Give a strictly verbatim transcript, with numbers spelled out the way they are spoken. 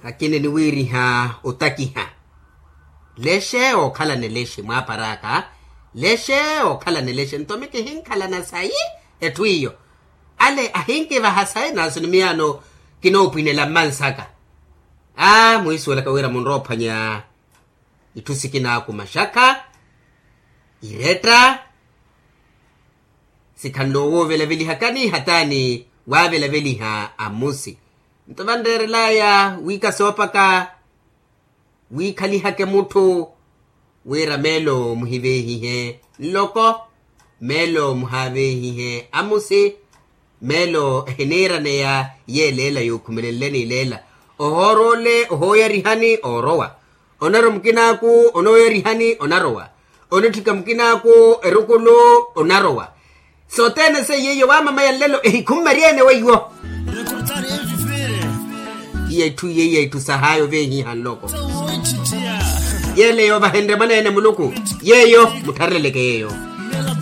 Akina eniwiiriha otakiha. Lexe ookhalana elexe mwaapar'aka. Lexe ookhalana elexe nto mi kihinkhalana sayi. Etthu iyo ale ahinkivaha sayi naaso ni miyaano kinoopwinela mmansaka. Aa mwiisuwelaka wira munroophwanya itthu sikinaaku maxakha iretta. Sikhanle owoovelaveliha kaniiha taani waavelaveliha amusi. Nto vanreerelaya wiika soopaka wiikhalihake mutthu wira meelo muhiveehihe nloko meelo muhaveehihe amusi. Meelo ehiniiraneya yeeleela yookhumelenleni ileela ohoor'ole ohooyarihani oorowa. Onarowa mukinaaku onooyarihani onarowa. Onitthika mukinaaku erukulu onarowa. Sothene seiyo iyo waamamaya nlelo ehikhummari-ene weiwo. Iya itthu iya iya itthu sahaayo veehiha nloko. Yeele yoovahenrye mwaneene muluku yeeyo mutthareleleke yeeyo.